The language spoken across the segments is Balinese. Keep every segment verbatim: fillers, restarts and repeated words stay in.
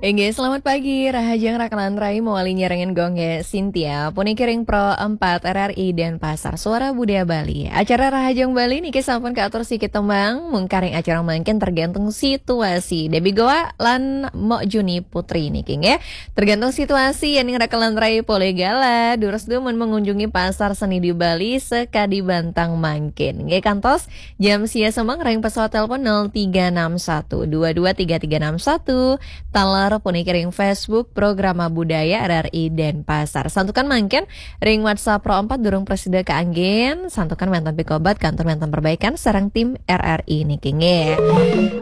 Inggih, selamat pagi, rahajeng rakalan rai mawali nyarengin Gung Gé Sintia, puniki ring Pro empat R R I Denpasar, Suara Budaya Bali. Acara Rahajeng Bali niki sampun kaatur siki tembang, mungkaring acara mangkin tergantung situasi. Debbie Goa lan Mok Juni Putri niki nggih. Tergantung situasi, yéning rakalan rai polih gala, durus dumun mengunjungi pasar seni di Bali sekadi bantang mangkin. Nggih, kantos jam sia semeng ring pesawat telepon nol tiga enam satu dua dua tiga tiga enam satu, taler puniki ring Facebook Programa Budaya R R I Denpasar. Santukan mangkin ring WhatsApp Pro empat durung prasida kaanggén, santukan wénten pikobet kantun wénten perbaikan sareng tim R R I niki nggih.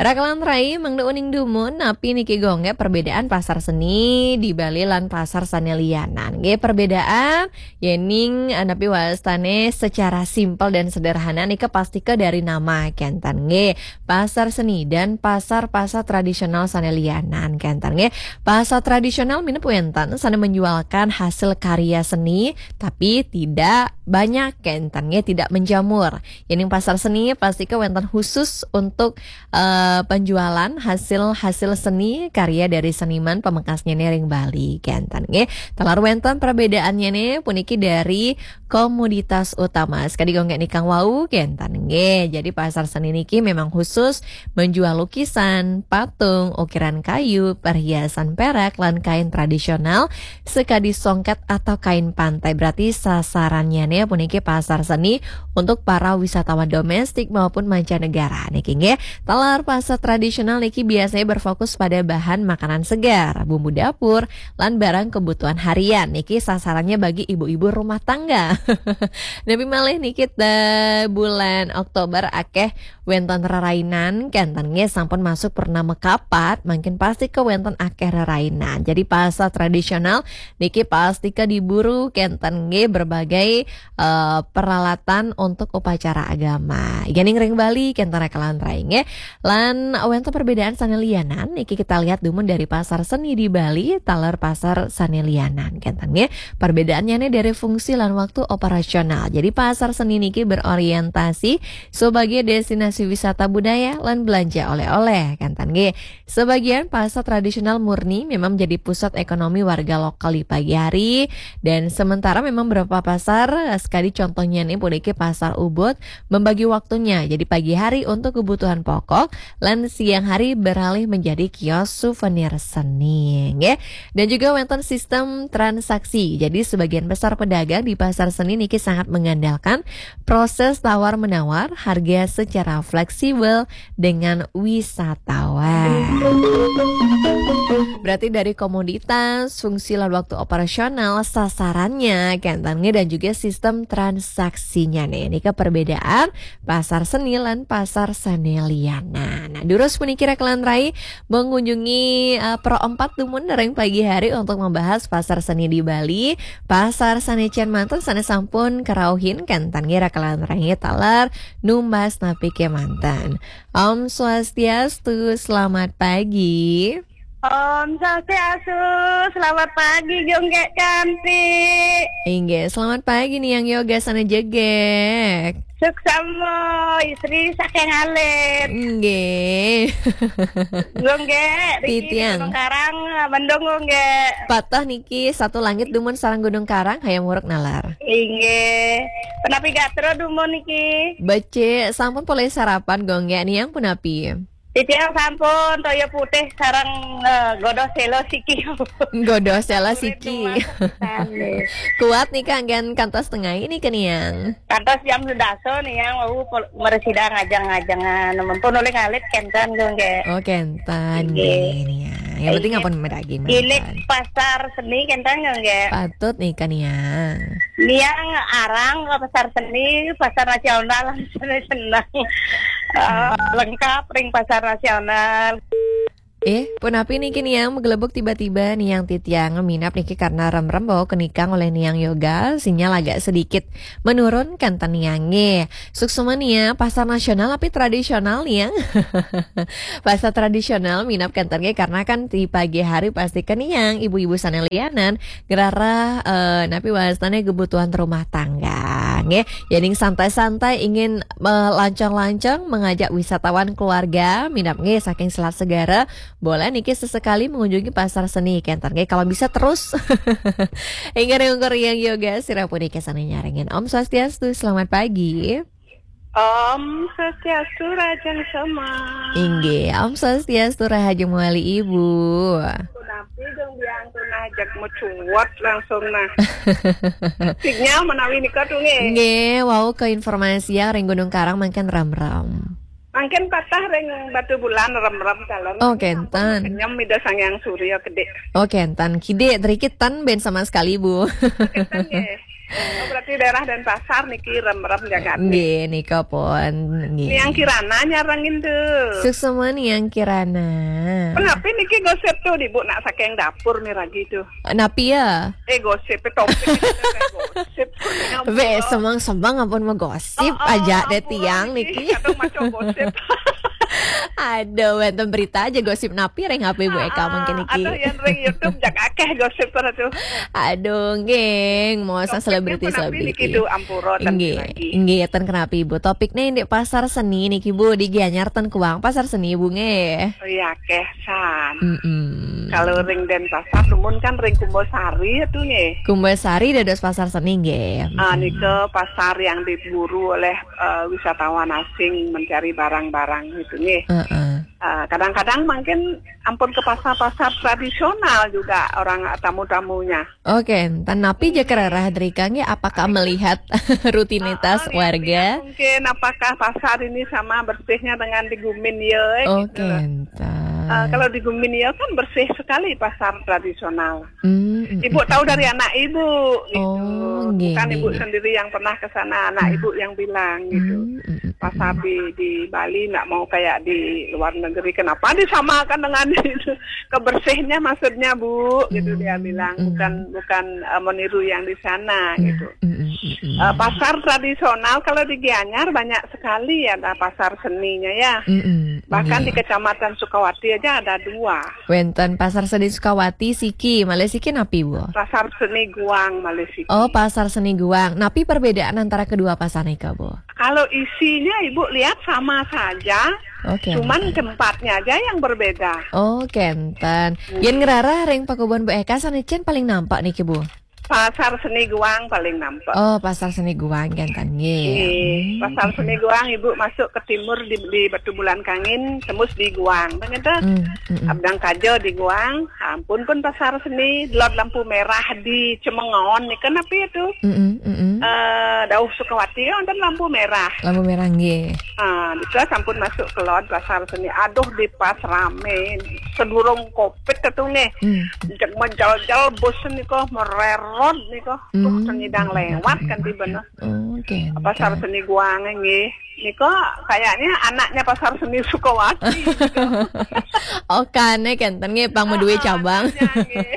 Rakalan rai mangda uning dumun, napi niki Gung Gé perbedaan pasar seni di Bali lan pasar sané lianan. Nggih, perbedaan yéning, eh, napi wastané secara simpel dan sederhana nika pastika dari nama kénten nggih. Pasar seni dan pasar-pasar tradisional sané lianan kénten nggih. Pasar tradisional minab wénten sané menjualkan hasil karya seni, tapi tidak banyak kénten nggih, tidak menjamur. Yéning pasar seni pastika wénten khusus untuk, eh, penjualan hasil-hasil seni karya dari seniman pamekasnyané ring Bali kénten nggih. Taler wénten perbedaannyané puniki dari komoditas utama. Sekadi Gung Gé nikang wau kénten nggih. Jadi pasar seni niki memang khusus menjual lukisan, patung, ukiran kayu, perhiasan perak, lan kain tradisional, sekadi songket atau kain pantai. Berarti sasarannyané puniki pasar seni untuk para wisatawan domestik maupun mancanegara niki nggih. Taler pasar tradisional niki biasanya berfokus pada bahan makanan segar, bumbu dapur, lan barang kebutuhan harian. Niki sasarannya bagi ibu-ibu rumah tangga. Napi malih niki, eh, bulan Oktober akéh wénten rerainan, kénten nggih sampun masuk purnama kapat, mangkin pastika wénten akéh rerainan. Jadi pasar tradisional niki pastika diburu kénten nggih berbagai, eh, peralatan untuk upacara agama. Yéning ring Bali kénten rakalan rai nggih. Lan wénten perbedaan sané lianan niki kita lihat dumun dari pasar seni di Bali, taler pasar sané lianan kénten nggih. Perbedaannyané dari fungsi lan waktu operasional. Jadi pasar seni niki berorientasi sebagai destinasi wisata budaya lan belanja oleh-oleh kénten nggih. Sebagian pasar tradisional murni memang menjadi pusat ekonomi warga lokal di pagi hari, dan sementara memang beberapa pasar, sekadi contohnyané puniki Pasar Ubud, membagi waktunya jadi pagi hari untuk kebutuhan pokok, lan siang hari beralih menjadi kios souvenir seni nggih. Dan juga wénten sistem transaksi. Jadi sebagian besar pedagang di pasar seni niki sangat mengandalkan proses tawar-menawar harga secara fleksibel dengan wisatawan. Berarti dari komoditas, fungsi lan waktu operasional, sasarannya, kénten nggih, dan juga sistem transaksinya nih. Ini ke perbedaan pasar seni lan pasar sané lianan. Nah, durus puniki rakalan rai mengunjungi, eh, Pro empat dumun ring pagi hari untuk membahas pasar seni di Bali, pasar sané cén manten sané sampun karauhin, kénten nggih rakalan rai taler numbas napi kémanten. Om Swastiastu, selamat pagi. Om Swastiastu, selamat pagi, Gung Gé Kanti. Inggih, selamat pagi Niang Yoga sané jegég. Suksma, istri saking alit. Inggih. Gung Gé, riki Titiang. Gunung Karang, mendung Gung Gé. Patah niki satu langit dumun sareng Gunung Karang, hayam muruk nalar. Inggih. Punapi gatra dumun niki? Becik, sampun polih sarapan Gung Gé, Niang punapi? Titiang sampun toya putih sareng, eh, godoh séla siki. Godoh séla siki. Kuat nika anggén kantos tengah ini ke Niang. Kantos jam sedasa Niang wau pol-, mresida ngajeng-ngajengan. Mempun olih ngalit kénten Gung Gé. Oh, kénten. Inggih. Nggih, Niang. Yang penting ampun meragi. Ilit manten. Pasar seni kénten Gung Gé. Patut nika Niang. Niang arang ke pasar seni, pasar nasional, seneng. Eh, lengkap ring pasar nasional. Eh, punapi niki Niang maglebug tiba-tiba Niang Titiang minab niki karena remrem bahwa kenikang oleh Niang Yoga, sinyal agak sedikit menurun kénten Niang nggih. Suksma Niang, pasar nasional tapi tradisional Niang. Pasar tradisional minab kénten nggih karena kan di pagi hari pasti ke Niang ibu-ibu sané lianan ngrereh, eh, napi wastané kebutuhan rumah tangga nggih. Yéning santai-santai ingin melancong-lancong mengajak wisatawan keluarga minab nggih saking Selat Segara Boleh niki sesekali mengunjungi pasar seni, kénten nggih, kalau bisa terus. Inggih, ring ungkur Yang Yoga, sira punika sané nyarengin. Om Swastiastu, selamat pagi. Om Swastiastu, Rahajeng Soma. Inggih, Om Swastiastu, Rahajeng Mawali Ibu. Punapi dong biang tunah jak mecuat langsung nah. Sinyal menawi nika tuh nggih. Nggih, wau ke informasi yang ring Gunung Karang mangkin remrem. Mangkin patah ring Batubulan remrem calon. Oh, kénten. Kenyem Ida Sang Hyang Surya gedé. Oh, kénten. Kidé driki ten ben sama sekali, Bu. Kénten nggih. Oh, berarti daerah Denpasar niki remrem jagate. Nggih, nika pun. Nggih. Niang Kirana nyarengin tuh. Suksma Niang Kirana. Kenapa niki gosip tuh di Bu nak saking dapur miragi tuh? Napi ya? Eh, gosip, eh, topik ini kan gosip. Be, semang-semang ampun mau gosip. Oh, oh, aja deh ampun, tiang niki, niki. Kadang maco gosip. Aduh, wénten berita aja gosip napi ring H P Bu Eka mangkin niki. Atau yang ring YouTube jak akeh gosip pada tuh. Aduh, nggih, mau selebriti selebriti. Itu ampura ten nggih, lagi. Nggih, ten kenapa Ibu? Topiknya ini pasar seni niki Bu, di Gianyar ten kuang pasar seni Bu nggih. Oh iya, akeh san. Mm-mm. Kalau ring Denpasar, dumun kan ring Kumbasari itu nggih. Kumbasari dados pasar seni nggih. Ah, mm-mm. Nika pasar yang diburu oleh, eh, wisatawan asing mencari barang-barang itu nggih. Heeh. Eh, kadang-kadang mungkin ampun ke pasar-pasar tradisional juga orang, eh, tamu-tamunya. Oke, ten napi ja kererah drika nggih, apakah melihat rutinitas warga? Mungkin apakah pasar ini sama bersihnya dengan di Gumin ya, gitu. Oke, ten. Eh, kalau di Gumin ya kan bersih sekali pasar tradisional. Hmm, mm, Ibu mm, tahu mm, dari mm. Anak ibu, gitu. Oh, nggih, bukan nggih, ibu nggih. Sendiri yang pernah ke sana, anak hmm. Ibu yang bilang, gitu. Hmm, mm, mm, pasar mm. Di, di Bali nggak mau kayak di luar negeri. Kenapa disamakan dengan itu? Kebersihnya maksudnya, Bu, gitu dia bilang. Bukan, bukan, eh, meniru yang di sana, gitu. Eh, pasar tradisional kalau di Gianyar banyak sekali ada pasar seninya ya. Bahkan di Kecamatan Sukawati aja ada dua. Wénten Pasar Seni Sukawati siki, malih siki napi, Bu? Pasar Seni Guang malih siki. Oh, Pasar Seni Guang. Napi perbedaan antara kedua pasar nika, Bu? Kalau isinya Ibu lihat sama saja, oke, cuman tempatnya aja yang berbeda. Oh, kénten. Hmm. Yén ngrarah ring pakubon Bu Eka sané cén paling nampak niki, Bu? Pasar Seni Guang paling nampak. Oh, Pasar Seni Guang kénten nggih. Nggih, hmm. Pasar Seni Guang Ibu masuk ke timur di, di Batubulan Kangin, tembus di Guang. Begitu. Hmm, hmm, hmm. Abdang Kajo di Guang, ampun pun Pasar Seni, delod lampu merah di Cemengon nika napi itu? Mm-mm, mm-mm. Eh, dauh Sukawati ya, wonten lampu merah. Lampu merah nggih. Ah, nika sampun masuk ke lod Pasar Seni. Aduh, di pas rame. Sedurung covid itu nggih. Hmm. Cek menjal-jal bus nika mererot nika. Tuh, hmm, seni dang lewat kan tiba nah. Oke. Pasar Seni Guang nggih. Nika kayaknya anaknya Pasar Seni Sukawati gitu. Oh, kane kénten nggih pang madué cabang. Anaknya nggih.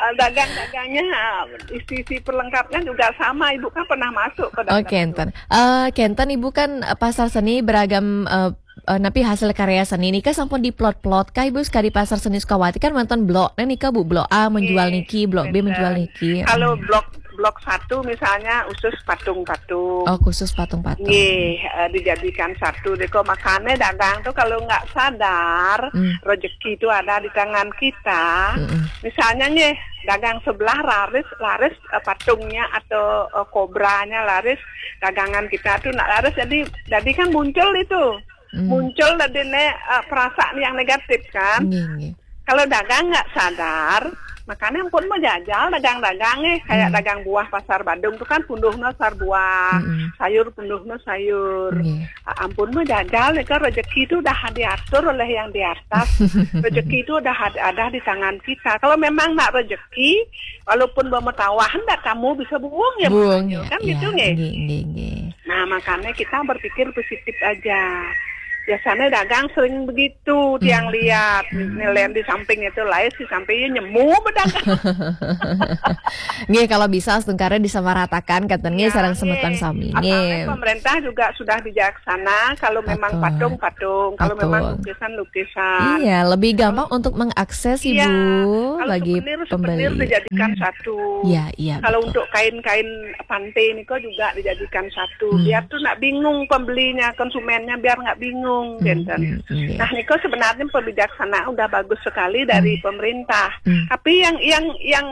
Eh, dagang-dagangnya, eh, isi-isi perlengkapnya juga sama. Ibu kan pernah masuk ke dalam. Oh, kénten. Eh, kénten Ibu kan, eh, pasar seni beragam, eh, eh, napi hasil karya seni nika sampun diplot-plot kah Ibu sekadi Pasar Seni Sukawati kan wonten blok. Nah, nika Bu, blok A menjual niki, blok B menjual niki. Kalau blok, blok satu misalnya khusus patung-patung. Oh, khusus patung-patung. Nggih, eh, dijadikan satu deko makane dagang tuh kalau nggak sadar, hmm, rezeki itu ada di tangan kita. Mm-mm. Misalnya nggih, dagang sebelah laris, laris, eh, patungnya atau, eh, kobranya laris, dagangan kita tuh nggak laris jadi, jadi kan muncul itu. Hmm. Muncul tadi ne, eh, perasaan yang negatif kan. Nggih, nggih. Kalau dagang nggak sadar, makanya ampun mau jajal dagang-dagang nih, kayak, hmm, dagang buah pasar Badung tuh kan punduhna sar buah, mm-mm, sayur punduhna sayur. Nggih. A-, ampun mau jajal nih kan rezeki itu udah diatur oleh yang di atas. Rezeki itu udah had-, ada di tangan kita. Kalau memang nggak rezeki, walaupun bermetawahan nggak kamu bisa buang ya, buang ya, kan ya, gitu nggih. Nggih, nggih, nggih. Nah, makanya kita berpikir positif aja. Biasanya dagang sering begitu, tiang, hmm, lihat, hmm, nilai di samping itu lain, di samping nyemu bedagang. Nggih, kalau bisa setungkara disamaratakan, kata nggih, ya, sareng semeton sami. Nggih. Asalnya pemerintah juga sudah bijaksana, kalau memang patung-patung, kalau memang lukisan-lukisan. Iya, lebih gampang untuk mengakses, iya, Ibu. Kalau bagi souvenir, pembeli. Souvenir dijadikan satu. Ya, ya, kalau betul. Untuk kain-kain pantai ini kok juga dijadikan satu. Hmm. Biar tuh nggak bingung pembelinya, konsumennya biar nggak bingung, hmm, gitu. Hmm, hmm, iya. Nah, niko sebenarnya pembijaksanaan udah bagus sekali dari, hmm, pemerintah. Hmm. Tapi yang yang yang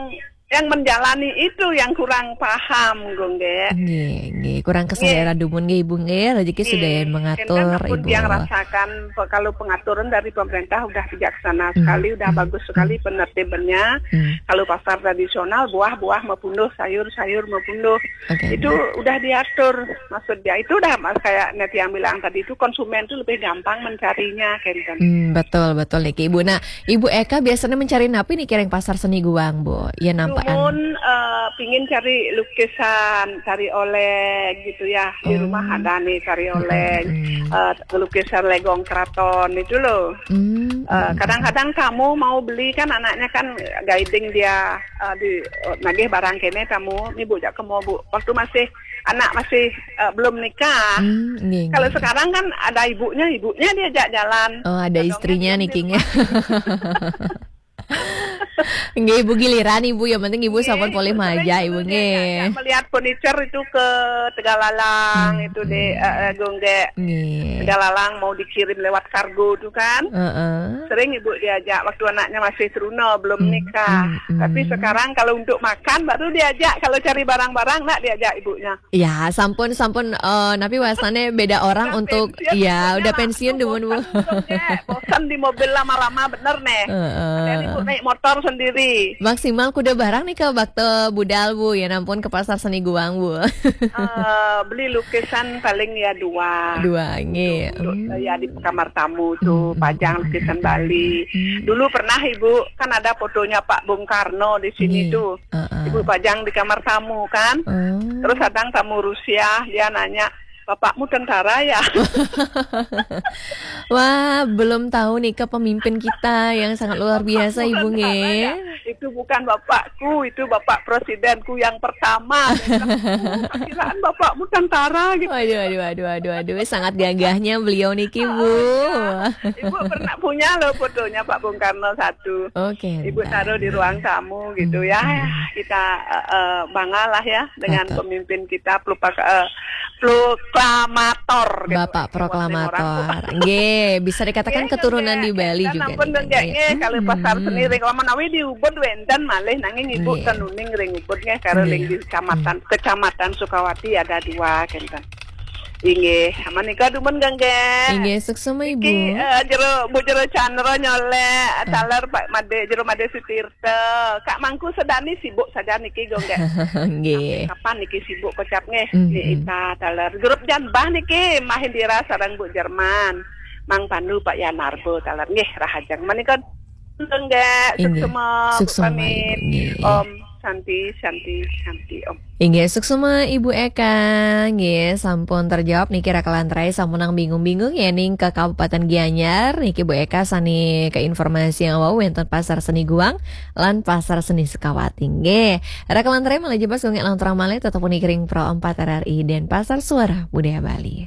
yang menjalani itu yang kurang paham, Gung, nggih. Nggih, nggih. Kurang kesadaran dumun nggih, Ibu, nggih. Rezeki sudah yang mengatur, Ibu. Yang rasakan pe-, kalau pengaturan dari pemerintah udah bijaksana sekali, udah bagus sekali penertibannya. Hmm. Kalau pasar tradisional, buah-buah mau punduh, sayur-sayur mau punduh. Oke. Itu udah diatur. Maksudnya itu udah, mas, kayak Neti yang bilang tadi itu, konsumen itu lebih gampang mencarinya, kenten. Hmm, betul, betul niki, Ibu. Nah, Ibu Eka biasanya mencari napi niki ring Pasar Seni Guang, Bu? Ya, nampaan. Dumun, eh, pingin cari lukisan, cari oleh gitu ya. Di rumah ada nih cari oleh, eh, lukisan Legong Keraton itu loh. Hmm. Eh, kadang-kadang tamu mau beli kan, anaknya kan guiding dia, eh, di, eh, nagih barang kene tamu, "Ni, Bu, jak ke mall, Bu." Waktu masih, anak masih, eh, belum nikah. Hmm, nggih, nggih. Kalau sekarang kan ada ibunya, ibunya diajak jalan. Oh, ada istrinya niki, nggih. Nggih, Ibu, giliran Ibu, yang penting Ibu sampun polih majak, Ibu, nggih. Melihat furniture itu ke Tegalalang, hmm, itu di, eh, eh, Gung, nggih. Nggih. Tegalalang mau dikirim lewat kargo tuh kan. Heeh. Sering Ibu diajak waktu anaknya masih teruna, belum nikah. Hmm, hmm. Tapi sekarang kalau untuk makan baru diajak, kalau cari barang-barang nak diajak ibunya. Ya, sampun, sampun, eh, napi wastane beda orang. Udah untuk pensiun, ya, udah pensiun, dumun, Bu. Bosan, Gung, nggih. Bosan di mobil lama-lama bener nih. Heeh. Ada ibu naik motor sendiri. Maksimal kuda barang nih ke bakto budal, Bu, ya, nampun ke Pasar Seni Guang, Bu. Eh, beli lukisan paling ya dua. Dua, nggih. Untuk, untuk, hmm, eh, ya, di kamar tamu tuh, hmm, pajang lukisan Bali. Hmm. Dulu pernah Ibu, kan ada fotonya Pak Bung Karno di sini tuh. Heeh. Ibu pajang di kamar tamu kan. Oh. Terus ada tamu Rusia, dia nanya, "Bapakmu tentara ya?" Wah, belum tahu nih ke pemimpin kita yang sangat luar biasa, Ibu, nggih. "Bapakmu tentara ya?" "Itu bukan bapakku, itu bapak presidenku yang pertama." "Kiraan bapakmu tentara," gitu. Waduh, waduh, waduh, waduh, waduh. Sangat gagahnya beliau niki, Bu. Oh, iya. Ibu pernah punya loh fotonya Pak Bung Karno satu. Oke, ibu taruh di ruang tamu gitu ya. Hmm. Kita, eh, eh, bangga lah ya dengan pemimpin kita, pelupa-, eh, proklamator gitu. Bapak proklamator. Nggih, bisa dikatakan keturunan di Bali juga nih, nggih. Kalau Pasar Seni ring, kalau menawi di Ubud wenten malih, nanging Ibu ten uning ring Ubud nggih, karo ring di kecamatan, Kecamatan Sukawati ada dua, kenten. Inggih, menika dumun, nggih. Inggih, suksma, Ibu. Iki, eh, jero, Bu Jero Chandra nyolek, taler Pak Made, Jero Made Sutirta. Kak Mangku sedani sibuk saja niki, nggih. Nggih. Kapan niki sibuk kocap nggih? Hmm, Ni Ita taler. Grup Janbah niki, Mahendira sareng Bu Jerman. Mang Pandu, Pak Yanarbo taler. Nggih, rahajeng. Menika nggih, suksma, Bu, pamit. Nggih. Om Santi, Santi, Santi, Om. Inggih, suksma Ibu Eka, nggih, sampun terjawab niki, raka lan rai sampunang bingung-bingung ya ning ke Kabupaten Gianyar, niki Bu Eka sani ke informasi yang wau wenten Pasar Seni Guang lan Pasar Seni Sukawati, nggih. Raka lan rai malih jebos gongek lanturang malih tetep niki ring Pro empat R R I Denpasar, Suara Budaya Bali.